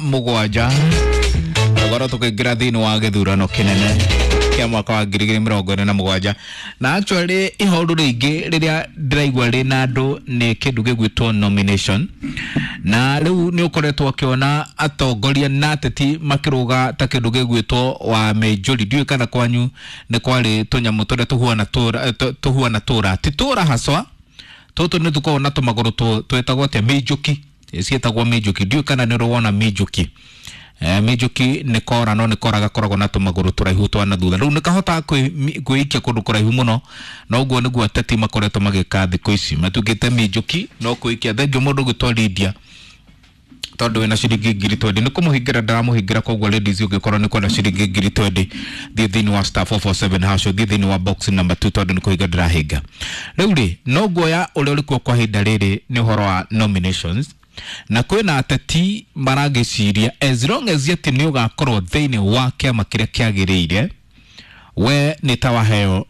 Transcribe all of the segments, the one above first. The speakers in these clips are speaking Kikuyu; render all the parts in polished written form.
7 goro tukiingira thiini wa githurano kinene kia mwaka wa 2027. Na actually ihoru ringi riria ndiraigua rina andu ni kindu gigwitwo nomination, na riu ni ukoretwo ukiona atongoria na ateti makiruga ta kindu gigwitwo wa majority. Ndiũĩ kana kwanyu ni kwari tunyamu turia tuhuana tura ti tura haswa tutu ni tukoragwo na tumaguru twetagwo atia minjuki, cietagwo minjuki. Ndiũĩ kana ni ũrĩ minjuki. Minjuki nĩ kora no nĩ kora gakoragwo na tũmagũrũ tũraihu twa na thutha, rĩu nĩ kahotaga kwĩikia kũndũ kũraihu mũno, na ũguo nĩguo ateti makoretwo magĩka thikũ ici, matuĩkĩte minjuki no kwĩikia. Thengiũ mũndũ ũgwĩtwo Lydia tondũ wĩna ciringi 20,000 nĩ kũmũhingĩra ndaramũhingĩra, koguo ladies ũngĩkorwo nĩ kwenda ciringi 20,000 thiĩ thĩinĩ wa *447# thiĩ thĩinĩ wa box number 2 tondũ nĩ kũhinga ndĩrahinga. Rĩu rĩ no guoya ũrĩa ũrĩkuo kwa ihinda rĩrĩ nĩ ũhoro wa nominations, na kwĩna ateti maragĩciria as long as atĩ nĩ ũgakorwo thĩinĩ wa kĩama kĩrĩa kĩagĩrĩire, we nĩ ta waheo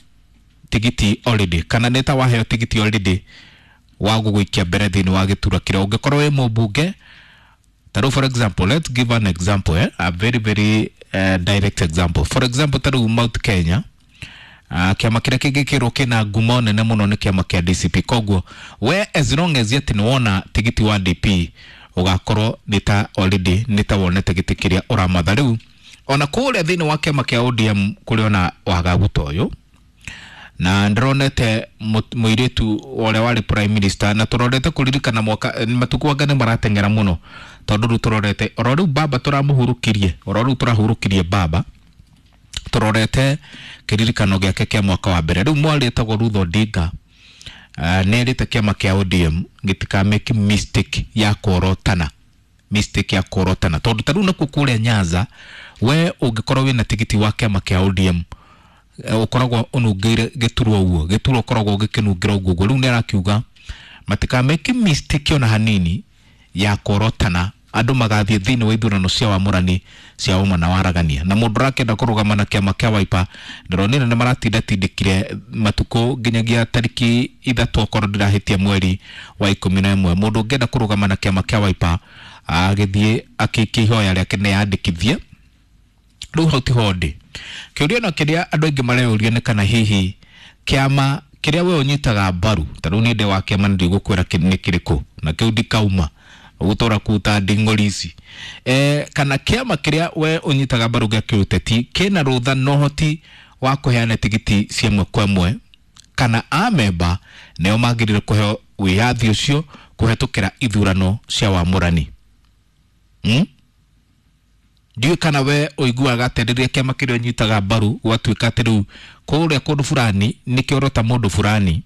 tigiti already, kana nĩ ta waheo tigiti already wa gũgũikia mbere thĩinĩ wa gĩturwa kĩrĩa ũngĩkorwo wĩ mũmbunge. Taru for example, let's give an example, a very very direct example. For example, taru Mount Kenya, kiama kĩrĩa kĩngĩkĩrwo kĩna ngumo nene mũno nĩ kĩama kĩa DCP. Koguo we as long as yet nĩ wona tigiti wa DP ũgakorwo nĩ ta already nĩ ta wonete gĩtĩ kĩrĩa ũramatha. Rĩu ona kũrĩa thĩinĩ wa kĩama kĩa ODM kũrĩ ona wagagu ta ũyũ, na ndĩronete mũirĩtu ũrĩa warĩ prime minister, na tũrorete kũririkana mwaka matukũ anga nĩ marateng'era mũno, tondũ rĩu tũrorete oro rĩu baba tũramũhurũkirie, oro rĩu tũrahurũkirie baba, tũrorete kĩririkano gĩake kĩa mwaka wa mbere. Rĩu mwarĩ etagwo Ruth Odinga, nĩ erĩte kĩama kĩa ODM gĩtikamake mistake ya kũorotana, mistake ya kũorotana, tondũ ta rĩu nakuo kũrĩa Nyanza we ũngĩkorwo wĩna tigiti wa kĩama kĩa ODM ũkoragwo ũnungĩire gĩturwa ũguo, gĩturwa ũkoragwo ũgĩkĩnungĩra ũguo ũguo. Rĩu nĩ arakiuga matikamake mistake ona hanini ya kũorotana, andũ magathiĩ thĩinĩ wa ithurano cia wamũrani cia ũma na waragania. Na mũndũ ũrakĩenda kũrũgama na kĩama kĩa Wiper ndĩronire nĩ maratindatindĩkire matukũ nginyagia tariki 3 okorwo ndĩrahĩtia mweri wa 11. Mũndũ ũngĩenda kũrũgama na kĩama kĩa Wiper agĩthiĩ akĩikia ihoya rĩake nĩyandĩkithie. Rĩu hau tiho ndĩ. Kĩũria no kĩrĩa andũ aingĩ mareyũria nĩ kana hihi kĩama kĩrĩa we ũnyitaga mbaru, ta rĩu niĩ ndĩ wa kĩama ndigũkwĩra nĩ kĩrĩkũ na kĩu ndikauma ũgũtũra kuta nding'ori ici, kana kĩama kĩrĩa we ũnyitaga mbaru gĩa kĩũteti kĩna rũtha na ũhoti wa kũheana tigiti cia ĩmwe kwa ĩmwe, kana amemba nĩo magĩrĩire kũheo wĩyathi ũcio kũhetũkĩra ithurano cia wamũrani. Ndiũĩ kana we ũiguaga atĩ rĩrĩa kĩama kĩrĩa ũnyitaga mbaru gwatuĩka atĩ rĩu kũrĩa kũndũ fulani nĩkĩorota mũndũ fulani,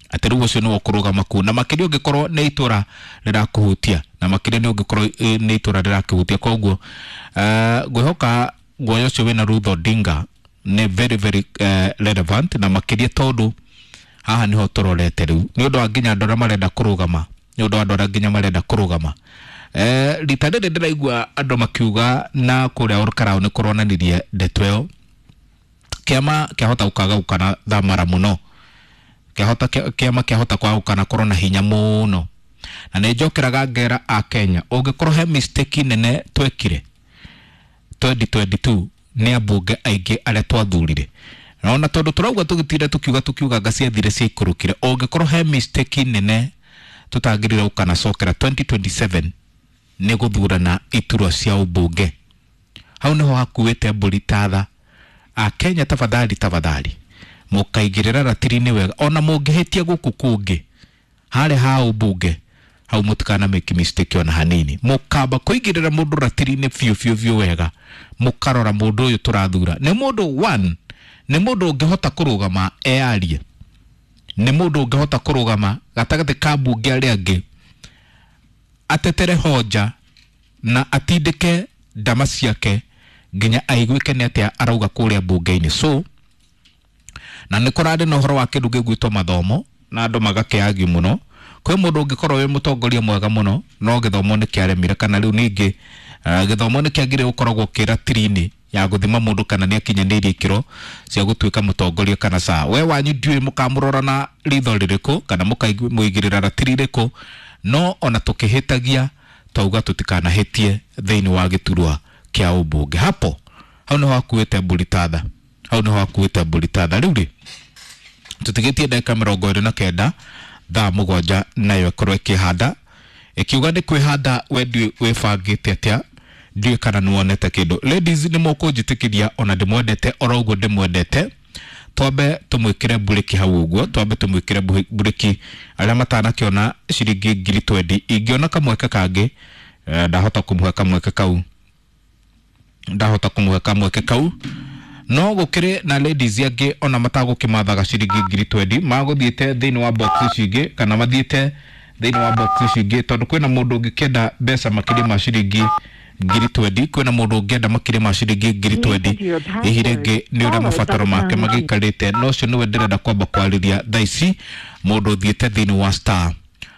atĩ rĩu ũcio nĩwe ũkũrũgama kũu, na makĩria ũngĩkorwo nĩ itũra rĩrakũhutia, na makĩria nĩ ũngĩkorwo nĩ itũra rĩrakũhutia. Koguo ngwĩhoka guoya ũcio wĩna Ruth Odinga nĩ very very relevant, na makĩria tondũ haha nĩho tũrorete rĩu nĩ ũndũ wa nginya andũ arĩa marenda kũrũgama, nĩ ũndũ wa andũ arĩa nginya marenda kũrũgama. Rita rĩrĩ ndĩraigua andũ makiuga na kũrĩa Olkalau nĩ kũronanirie ndeto ĩyo, kĩama kĩahota gũkagaũkana thamara mũno, kĩama kĩahota kwagũkana korwo na hinya mũno. Na nĩ njokeraga ngera a Kenya, ũngĩkorwo he mistake nene twekire 2022 nĩ ambunge aingĩ arĩa twathurire, na tondũ tũrauga tũgĩtinda tũkiuga nga ciathire ciaikũrũkire, ũngĩkorwo he mistake nene tũtagĩrĩire gũkanacokera 2027 nĩ gũthurana iturwa cia ũmbunge. Hau nĩho hakuĩte mbũri tatha. A Kenya tafadhali tafadhali mũkaigĩrĩra ratiri-inĩ wega, ona mũngĩhĩtia gũkũ kũngĩ harĩa ha ũmbunge hau mũtikana make mistake ona hanini, mũkamba kũigĩrĩra mũndũ ratiri-inĩ biũ biũ biũ wega, mũkarora mũndũ ũyũ tũrathura nĩ mũndũ one, nĩ mũndũ ũngĩhota kũrũgama eyarie, nĩ mũndũ ũngĩhota kũrũgama gatagatĩ ka mbunge arĩa angĩ atetere hoja na atindĩke ndama ciake nginya aiguĩke nĩ atĩa arauga kũrĩa mbunge-inĩ. So na nĩ kũrarĩ na ũhoro wa kĩndũ gĩgwĩtwo mathomo na andũ magakĩagio mũno. Kwĩ mũndũ ũngĩkorwo wĩ mũtongoria mwega mũno no gĩthomo nĩ kĩaremire, kana rĩu ningĩ gĩthomo nĩ kĩagĩrĩire gũkoragwo kĩratiri-inĩ ya gũthima mũndũ kana nĩ akinyanĩirie ikĩro cia gũtuĩka mũtongoria kana ca. We wanyu ndiũĩ mũkamũrora na ritho rĩrĩkũ kana mũkamũigĩrĩra ratiri rĩrĩkũ, no ona tũkĩhĩtagia Twauga tũtikanahitie thĩinĩ wa gĩturwa kĩa ũmbunge. Hapo hau nĩho hakuĩte mbũri tatha, hau nĩho hakuĩte mbũri tatha. Rĩu rĩ, tũtigĩtie ndagĩka 29 thaa 7 nayo ĩkorwo ĩkĩhanda, ĩkiuga nĩ kwĩhanda. We ndiũĩ wĩbangĩte atĩa, ndiũĩ kana nĩwonete kĩndũ. Ladies, nĩ mũkũnjĩtĩkĩria ona ndĩmwendete oro ũguo ndĩmwendete, twambe tũmwĩkĩre mburĩki hau ũguo, twambe tũmwĩkĩre mburĩki arĩa matanakĩona ciringi 20,000. Ingĩona kamweke kangĩ, ndahota kũmũhe kamweke kau, ndahota kũmũhe kamweke kau. No gũkĩrĩ na ladies angĩ ona matagũkĩmathaga ciringi 20,000, magũthiĩte thĩinĩ wa box ici ingĩ, kana mathiĩte thĩinĩ wa box ici ingĩ, tondũ kwĩna mũndũ ũngĩkĩenda mbeca makĩria ma ciringi 20,000, kwĩna mũndũ ũngĩenda makĩria ma ciringi 20,000. Hihi rĩngĩ nĩ ũrĩa mabataro make magĩikarĩte, no ũcio nĩwe ndĩrenda kwamba kwarĩria thaa ici, mũndũ ũthiĩte thĩinĩ wa star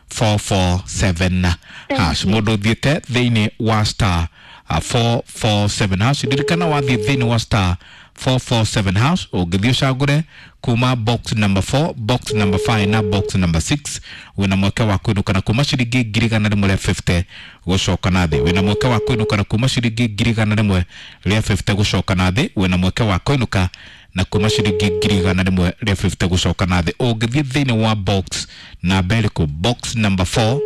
447 hash, mũndũ ũthiĩte thĩinĩ wa star 447 hash. Ndirikana, wathiĩ thĩinĩ wa star 447 hash, ũngĩthiĩ ũcagũre kuma box number 4, box number 5 na box number 6, wĩna mweke wa kũinũka na kuma ciringi 150,000 gũcoka na thĩ. Wĩna mweke wa kũinũka na kuma ciringi 150,000 gũcoka na thĩ. Wĩna mweke wa kũinũka na kuma ciringi 150,000 gũcoka na thĩ ũngĩthiĩ thĩinĩ wa box namba ĩrĩkũ? Box number 4,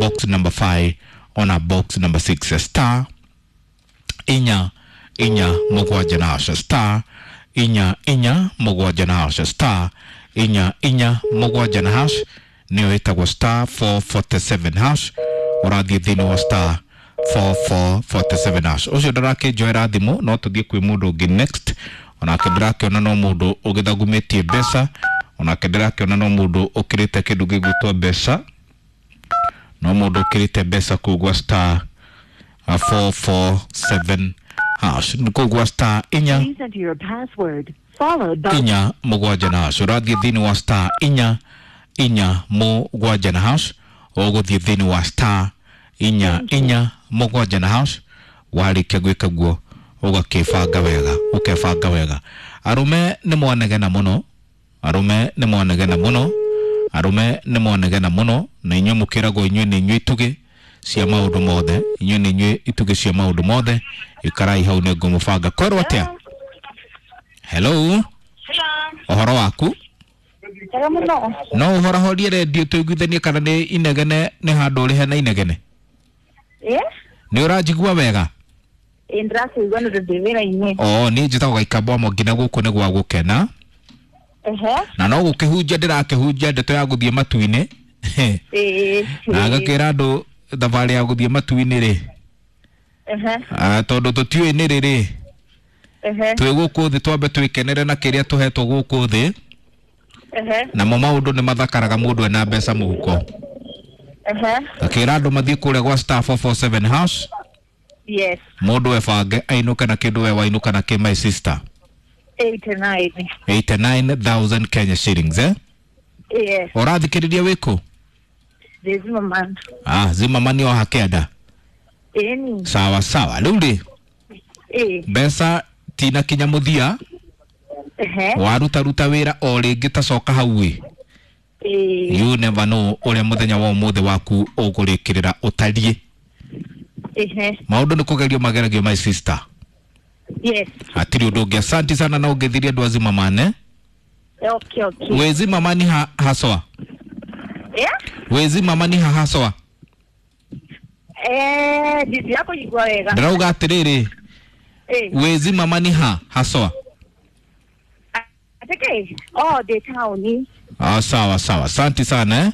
box number 5 ona box number 6. Star 447 na hash, star 447 na hash, star 447 na hash, nĩyo ĩtagwo star 447 hash. Ũrathiĩ thĩinĩ wa star 4447 hash. Ũcio ndarakĩnjoera thimũ, no tũthiĩ kwĩ mũndũ ũngĩ next. Onake ndĩrakĩona no mũndũ ũgĩthagumĩtie mbeca, onake ndĩrakĩona no mũndũ ũkĩrĩte kĩndũ gĩgwĩtwo mbeca, no mũndũ ũkĩrĩte mbeca kũu gwa star 447 hash, kũu gwa star inya Please enter your password, followed by 47 na hash. Ũrathiĩ thĩinĩ wa star 447 na hash, ũgũthiĩ thĩinĩ wa star 447 na hash. Warĩkia gwĩka guo, ũgakĩbanga wega, ũkebanga wega. Arũme nĩ mwanegena mũno, arũme nĩ mwanegena mũno, arũme nĩ mwanegena mũno, na inyuĩ mũkĩragwo inyuĩ nĩ inyuĩ itugĩ cia maũndũ mothe, inyuĩ nĩ inyuĩ itugĩ cia maũndũ mothe. Ikarai hau, nĩ ngũmũbanga. Kwerwo atĩa? Hello, ũhoro waku? Njega mũno. No ũhorahorie redio tũiguithanie kana nĩ inegene, nĩ handũ ũrĩ hena inegene? Ĩ? Nĩ ũranjigua wega? Ĩ, ndĩrakũigua nĩ ũndũ ndĩ wĩra-inĩ. O niĩ njĩtagwo Gaikamba wa Mwangi, na gũkũ nĩ gwa gũkena. Ehe. Na no gũkĩhunjia ndĩrakĩhunjia ndeto ya gũthiĩ matu-inĩ. Ĩ. Na ngakĩra andũ thabarĩ ya gũthiĩ matu-inĩ rĩ, Ehe. Tondũ tũtiũĩ nĩ rĩ rĩ, Ehe. twĩ gũkũ thĩ twambe twĩkenere na kĩrĩa tũhetwo gũkũ thĩ. Ehe. Namo maũndũ nĩ mathakaraga mũndũ ena mbeca mũhuko. Ehe. Ngakĩra andũ mathiĩ kũrĩa gwa star 447 hash. Yes. Mũndũ ebange ainũke na kĩndũ, we wainũka na kĩ, my sister? 89. 89,000 Kenya shillings, eh? Yes. Ũrathikĩrĩria wĩkũ? Ndĩ Zimmerman. Ah, Zimmerman o hakĩenda. Ĩni. Sawa sawa. Rĩu rĩ, Ĩ. mbeca tinakinya mũthia. Ehe. Warutaruta wĩra o rĩngĩ, tacoka hau ĩ. Ĩ. You never know ũrĩa mũthenya wa ũmũthĩ waku ũgũrĩkĩrĩra ũtariĩ. Ehe. Maũndũ nĩ kũgerio mageragio, my sister. Yes. Hatirĩ ũndũ ũngĩ. Asanti sana na ũngĩthirie andũ a Zimmerman, eh? Okay. Wĩ Zimmerman ha haswa? Yeah? Wĩ Zimmerman ha haswa? Eh, ndirakũigua wega. Ndĩrauga atĩrĩrĩ, Ĩ. wĩ Zimmerman ha haswa? Atĩkĩ? Oh, ndĩ taũni. Ah, sawa sawa, asanti sana, eh?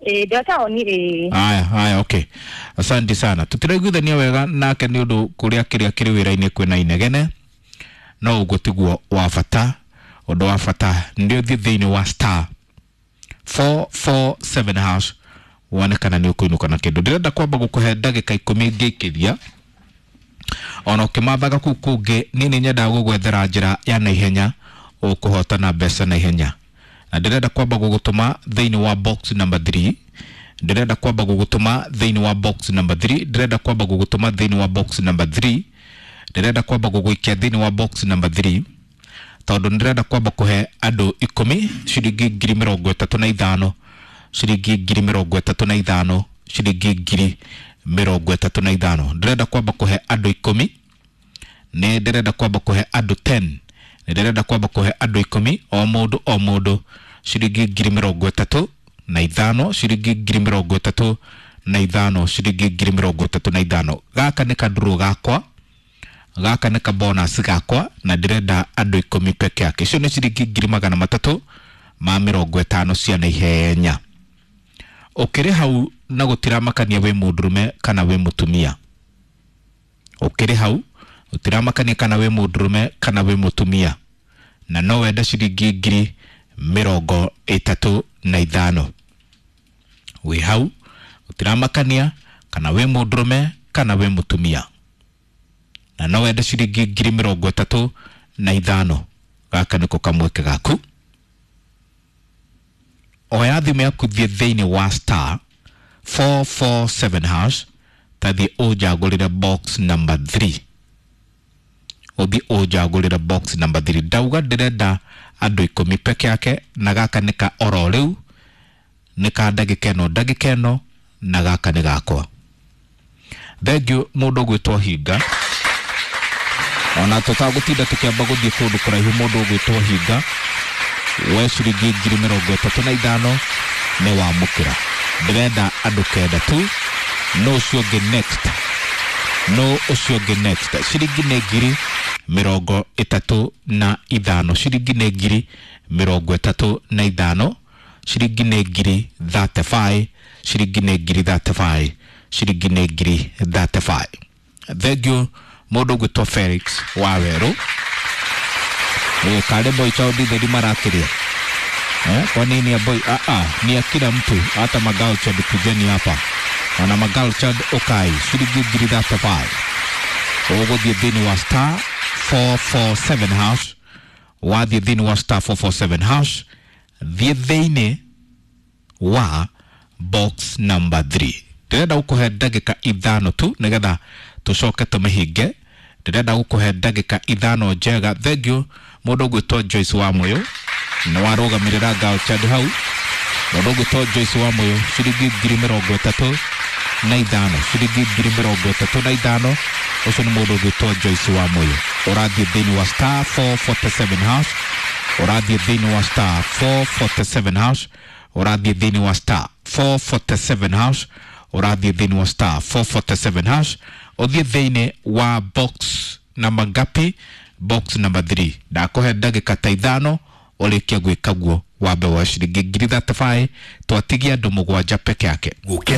Ĩ, ndĩ taũni ĩ. Aya aya, okay, asanti sana. Tũtiraiguithania wega nake nĩ ũndũ kũrĩa kĩrĩa kĩrĩ wĩra-inĩ kwĩna inegene, no ũguo tiguo wa bata. Ũndũ wa bata nĩ ũthiĩ thĩinĩ wa star 447 hash, wone kana nĩ ũkũinũka na kĩndũ. Ndĩrenda kwamba gũkũhe ndagĩka 10 ngĩikĩria ona ũkĩmathaga kũu kũngĩ. Niĩ nĩ nyendaga gũgwethera njĩra ya naihenya ũkũhotana mbeca naihenya, na ndĩrenda kwamba gũgũtũma thĩinĩ wa box number 3. Ndĩrenda kwamba gũgũtũma thĩinĩ wa box number 3. Ndĩrenda kwamba gũgũtũma thĩinĩ wa box number 3. Ndĩrenda kwamba gũgũikia thĩinĩ wa box number 3, tondũ ndĩrenda kwamba kũhe andũ 10 ciringi 35,000, ciringi 35,000, ciringi ngiri 35. Ndĩrenda kwamba kũhe andũ 10, nĩ ndĩrenda kwamba kũhe andũ 10, nĩ ndĩrenda kwamba kũhe andũ 10, o mũndũ o mũndũ ciringi 35,000, ciringi 35,000, ciringi 35,000. Gaka nĩ kandurũ gakwa, gaka nĩ kabonus gakwa, na ndĩrenda andũ 10 peke yake. Icio nĩ ciringi 350,000 cia naihenya. Ũkĩrĩ hau na gũtiramakania wĩ mũndũrũme kana wĩ mũtumia. Ũkĩrĩ hau gũtiramakania kana wĩ mũndũrũme kana wĩ mũtumia, na no wende ciringi 35,000. Wĩ hau gũtiramakania kana wĩ mũndũrũme kana wĩ mũtumia, na no wende ciringi 35,000. Gaka nĩko kamweke gaku. Oya thimũ yaku, thiĩ thĩinĩ wa star 447 hash, tathiĩ ũnjagũrĩre box number 3, ũthiĩ ũnjagũrĩre box number 3. Ndauga ndĩrenda andũ 10 peke yake, na gaka nĩ ka oro rĩu, nĩ ka ndagĩka ĩno, ndagĩka ĩno, na gaka nĩ gakwa. Thengiũ mũndũ ũgwĩtwo Hinga, ona tũtagũtinda tũkĩamba gũthiĩ kũndũ kũraihu, mũndũ ũgwĩtwo Hinga we ciringi 35,000 nĩ wamũkĩra. Ndĩrenda andũ 9 tu, no ũcio ũngĩ next, no ũcio ũngĩ next. Ciringi nĩ 35,000, ciringi nĩ 35,000, ciringi nĩ 35,000, ciringi nĩ 35,000, ciringi nĩ 35,000. Thengiũ mũndũ ũgwĩtwo Felix wa Werũ. Kale boy chao nditheri marakĩrĩa. Kwa nini ya boy? Ni ya kila mtu, hata magal chad kujeni hapa. Wana magal chad okai ciringi 35,000. Ũgũthiĩ thĩinĩ wa star 447 hash, wathiĩ thĩinĩ wa star 447 hash, thiĩ thĩinĩ wa box number 3. Ndĩrenda gũkũhe ndagĩka 5 tu nĩgetha tũcoke tũmĩhinge. Ndĩrenda gũkũhe ndagĩka 5 njega. Thengiũ mũndũ ũgwĩtwo Joyce wa Mũyũ, nĩ warũgamĩrĩra Girl Child hau. Mũndũ ũgwĩtwo Joyce wa Mũyũ ciringi 35,000, ciringi 35,000. Ũcio nĩ mũndũ ũgwĩtwo Joyce wa Mũyũ. Ũrathiĩ thĩinĩ wa star 447 hash, ũrathiĩ thĩinĩ wa star 447 hash, ũrathiĩ thĩinĩ wa star 447 hash, ũrathiĩ thĩinĩ wa star 447 hash, ũthiĩ thĩinĩ wa box namba ngapi? Box number 3. Ndakũhe ndagĩka ta 5 ũrĩkie gwĩka guo wambe wa ciringi 35,000, twatigia andũ 7 peke yake.